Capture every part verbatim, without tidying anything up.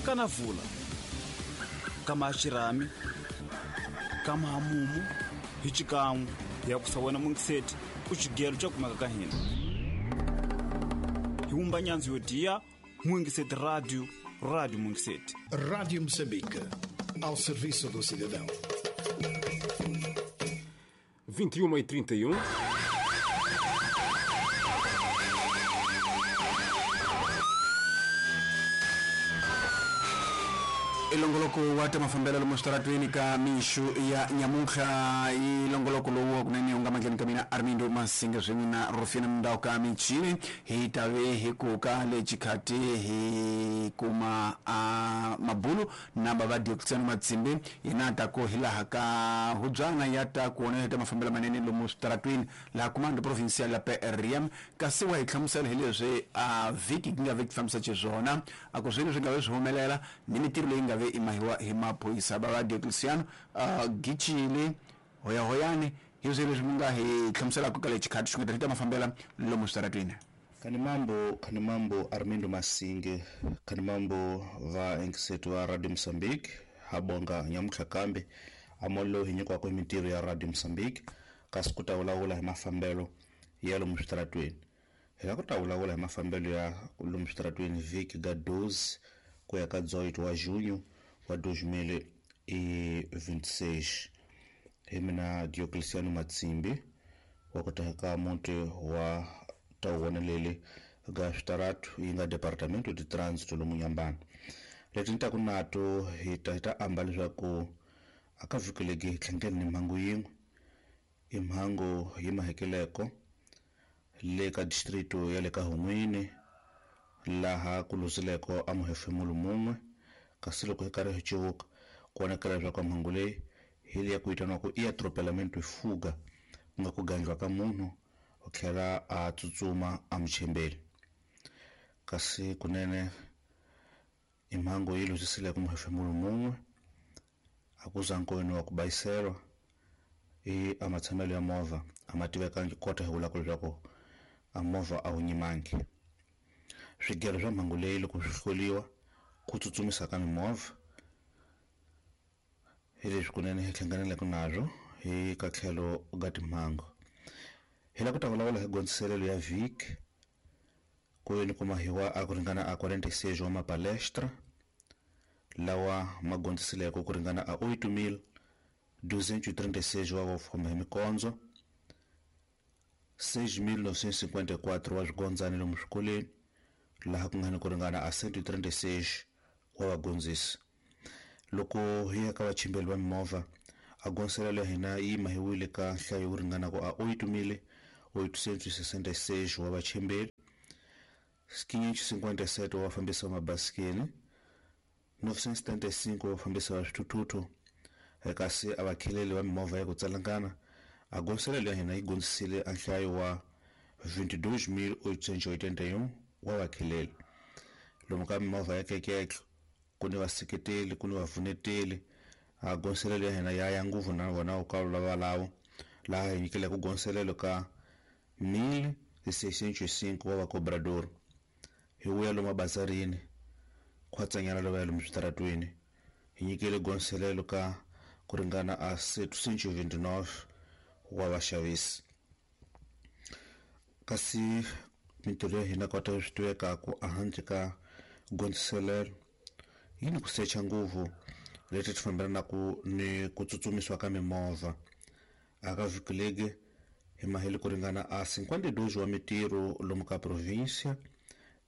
Kana vula kama xirhami kama hamumu hi xikan'we ya ku sa wena mungiseti ku xigelo xa kumeka ka hina hi wumba nyanzi yo diya Mungiseti Rádio, Rádio Mungiseti. Rádio Moçambique, ao serviço do cidadão. vinte e uma e trinta e um. Ilongoloko wa ta mafambelo lomu switaratweni ka mixu ya nyamuntlha ilongoloko lowu kunene u nga mandleni ka mina Armindo Masinga swin'we na Rufina Mundau ka michini hi tave hi kuka le xikhati hi kuma a mabulu na bava Diocletiano Matsimbi yena ta ku hi laha ka hubyana ya ta ku wona ta mafambelo manene lomu switaratweni laha comando provincial ya P R M kasi wa hi hlamusela hi leswi a vhiki ku nga vhiki fambisa xiswona a ku swilo swi nga ve swi humelela ni mitirho leyi nga ve imahiwa hi maphorisa bava Diocletiano uh, Gichile hoya hoyani hi swilo leswi mi nga hi hlamuselaka ka le xikhati xi nga ta mafambela lomu switaratweni. Kani mambo kani mambo Armindo Masinge kani mambo va enkiseto wa Radio Mozambique habonga nyamutlha kambe amollo hi nyikiwaka hi mintirho ya Radio Mozambique kasi ku ta vulavula hi mafambelo ya lomu switaratweni. Hi la ku ta vulavula hi mafambelo ya lomu switaratweni vhiki ga doze ku ya ka dezoito wa junho wa dois mil e vinte e seis. Hi mina Diocletiano Matsimbi wa ku ta ka muti wa tawonelele ga switaratu yi nga Departamento de Trânsito lomu Nyambana. Leti ni taku nato hi ta hi ta amba leswaku a ka vhiki legi hi tlhangeni ni mhangu yin'we i mhangu yi mahekeleko le ka distrito ya le ka Hun'wini laha ku luzileko a muhefemulo mun'we kasi loko hi karhi hi civuka ku vonakala leswaku mhangu leyi hi leyi ku vitaniwaku i atropelamento fuga ku nga ku gandliwa ka munhu u tlhela a tsutsuma a muchembeli kasi kunene i mhangu yi luzisileko muhefemulo mun'we a ku za nkoyini wa ku bayiselwa i a matshamelo ya movha a ma tivekangi kota hi vulaka leswaku a movha a wu nyimangi. Swigelo swa mhangu leyi loko swi hloliwa ku tsutsumisa ka mimovha hi leswi kunene hi hlanganeleke nazwo hi ka tlhelo ga timhangu. Hi la ku ta vulavula hi gondziselelo ya vhiki ku yini ku mahiwa a ku ringana a quarenta e seis wa mapalestra lawa ma gondzisileko ku ringana a oito mil duzentos e trinta e seis wa vo famba hi mikondzo seis mil novecentos e cinquenta e quatro wa swigondzani lomu swikolweni laha ku nga ni ku ringana a cento e trinta e seis wa vagondzisi. Loko hi ya ka vachimbeli va mimovha a gondziselelo ya hina yi mahiwile ka nhlayo wo ringanaka a oito mil oitocentos e sessenta e seis wa vachimbeli, quinhentos e cinquenta e sete wa vafambisi va mabasikeni, novecentos e setenta e cinco wa vafambisi va swithuthuthu kasi a vakheleli va mimovha ya ku tsalangana a gondziselelo ya hina yi gondzisile a nhlayo wa vinte e dois mil oitocentos e oitenta e um wa vakheleli. Lomu ka mimovha ya keketlo ku ni vaseketeli ku ni vavuneteli a gondziselelo ya hina ya ya nguvu na vona ka valavo laha hi nyikile ku gondziselelo ka mil seiscentos e cinco wa vacobrador. Hi vuya lomu mabazarini khwatsanyana lava ya lomu switaratweni hi nyikile gondziselelo ka ku ringana a setecentos e vinte e nove wa vaxavisi. Kasi mintirho ya hina kota swi tivekaku ehandle ka gondziselelo yi ni ku secha nguvu leti ti fambelanaka ni ku tsutsumisiwa ka mimovha. A ka vhiki legi hi mahele ku ringana a cinquenta e dois wa mitirho lomu ka província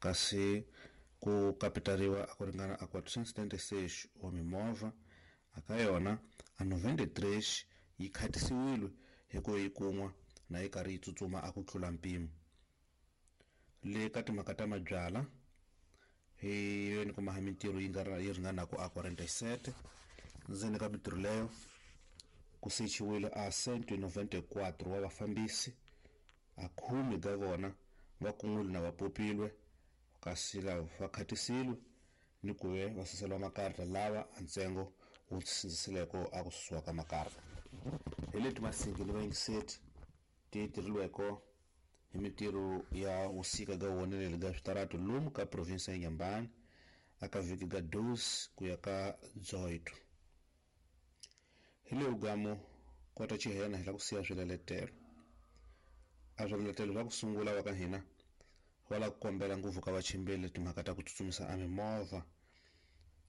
kasi ku kapitariwa a ku ringana a quatrocentos e setenta e seis wa mimovha a ka yona a noventa e três yi khatisiwile hi ku yi kun'wa na yi karhi yi tsutsuma a ku tlula mpimo. Le ka timhaka ta mabyala hi yona kuma ha mintirho yi nga yi ringanaka a quarenta e sete ndzeni ka mintirho leyo ku sechiwile a cento e noventa e quatro wa vafambisi a khume ka vona va kun'wile na va popilwe kasi lava va khatisiwe ni ku ve va suseliwa makarata lava a ntsengo wu sindzisileko a ku susiwa ka makarata. Hi leti Masingi ni vayingiseti ti tirhiliweko hi mintirho ya vusika ga woneleli ga switaratu lomu ka province ya Nyambani aka vhiki ga doze ku ya ka dezoito. Hi le ugamo kota chihena hi la ku siya swileletelo. A swileletelo swa ku sungula wa ka hina wala ku kombela ngopfu ka vachimbeli timhaka ta ku tsutsumisa a mimovha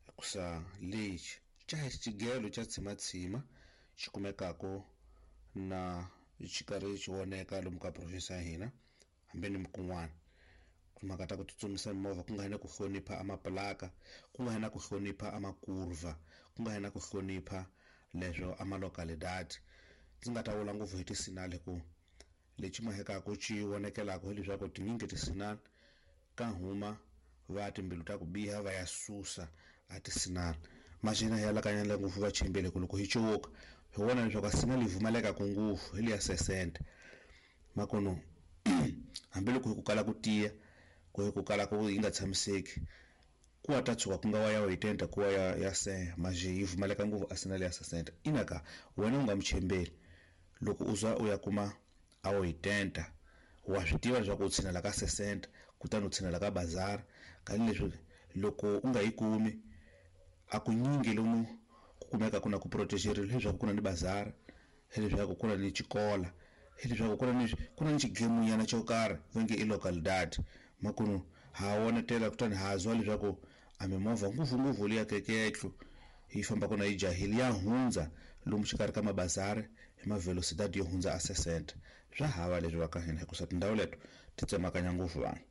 hikusa lexi xa xigelo xa tshimatsima xi kumekaka na xi karhi xi voneka lomu ka province ya hina hambi ni kun'wana. Timhaka ta ku tsutsumisa mimovha ku nga hi na ku hlonipha amaplaka, ku nga hi na ku hlonipha amakurva, ku nga hi na ku hlonipha leswo amalocalidade. Ndzi nga ta vula ngopfu hi tisinali ku lexi mahekaka xi vonekelaka hileswaku tinyingi tisinali ka huma va timbilu ta ku biha va ya susa a tisinali. Maxina hi alakanyela ngopfu va chimbele ku loko hi cuvuka hi vona leswaku a sinali yi pfumalekaka ngopfu hi liya sesente makono hambiloko hi ku kala ku tiya ku hi ku kala ku yi nga tshamiseki ku wa ta tshuka ku nga wa ya oitenta ku wa ya ya se maje yi pfumaleka ngopfu a sinali ya sesente. Inaka wena u nga muchembeli loko u za u ya kuma a oitenta wa swi tiva leswaku u tshinela ka sesente kutani u tshinela ka bazar kanileswi loko u nga yi kumi a ku nyingi lomu ku kumeka ku na ku protegerile leswaku ku na ni bazar, leswaku ku na ni xikola, leswaku ku na ni ku na ni xigemunyana xo karhi va nge i localidade. Makunu ha vonetela kutani ha zwa leswaku a mimovha ngopfungopfu liya keketlo yi famba kona yi jahile ya hundza lomu xikarhi ka mabazari hi mavelocidade yo hundza a sesente. Swa hava leswi va ka hina hikusa tindhawu leto ti tsemakanya ngopfu vanhu.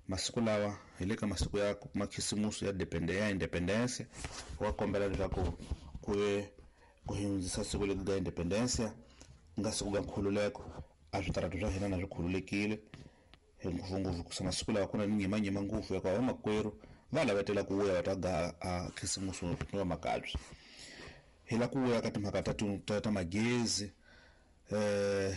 Masiku lawa hi le ka masiku ya makhisimusi ya ya independence wa kombela leswaku ku ve ku hundzisa siku leri ga independence nga siku ga nkhululeko a switarata swa hina na swi khululekile hi ngopfungopfu hikusa masiku lawa ku na ni nyimanyima ngopfu ya ku vamakwerhu va lavetela ku vuya va ta ga a khisimusi ni va makabye. Hi la ku vuya ka timhaka ta ta ta magezi eh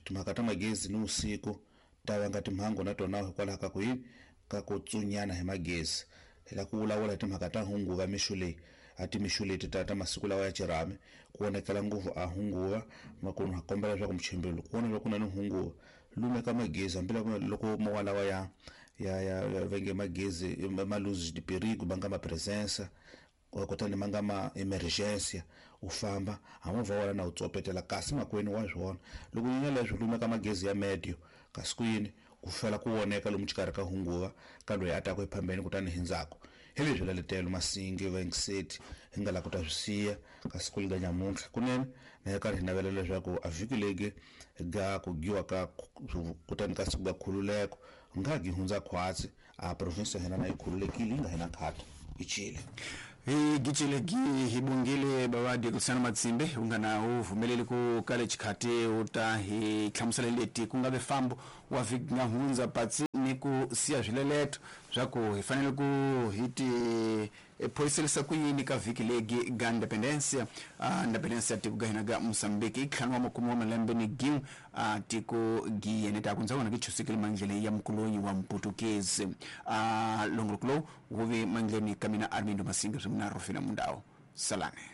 timhaka ta magezi ni usiku ta vanga timhangu na tona hikwalaho ka ku yini ka ku tsunyana hi magezi. Hi la ku vulavula hi timhaka ta hunguva mixo leyi a timixo leti ta ta masiku lawa ya xirhami ku vonekela ngopfu a hunguva makunu ha kombela leswaku muchimbeli ku vona leswaku ku na ni hunguva lumeka magezi hambi loko mowa lawa ya ya ya venge magezi ma luz de perigo ma nga ma presença kutani ma nga ma emergência u famba a movha wa na u tsopetela kasi makwenu wa swona loko yi leswi lumeka magezi ya medio kasi ku yini ku fela ku voneka lomu xikarhi ka hunguva ka loyi a ta ku ephambeni kutani hi ndzhaku. Hi leswi laletelo Masingi va Ngiseti hi nga la ku ta swi siya kasi ku liga nyamuntlha kunene na hi karhi hi navela leswaku a vhiki legi ga ku giwa ka kutani ka siku ga khululeko nga gi hundza khwatsi a province ya hina na yi khululekile yi nga hina khata i Chile. Hi gicile gi hi bongile bavadi Luciano Matsimbe u nga na u vumeleli ku kale xikhati u ta hi hlamusela leti ku nga ve fambo wa vhiki nga hundza patsi ni ku siya swileleto swa ku hi fanele ku hi ti phoyiselisa ku yini ka vhiki legi ga independencia uh, independencia tiko ga hina ga Mozambique i ntlhanu wa makume wa malembe ni gin'we uh, tiko gi yene ta ku ndza vona ki chusekile mandlele ya mkulonyi wa mputukezi uh, longoloko lowu wu ve mandleni ka mina Armindo Masinga swin'we na Rufina Mundau. Salane.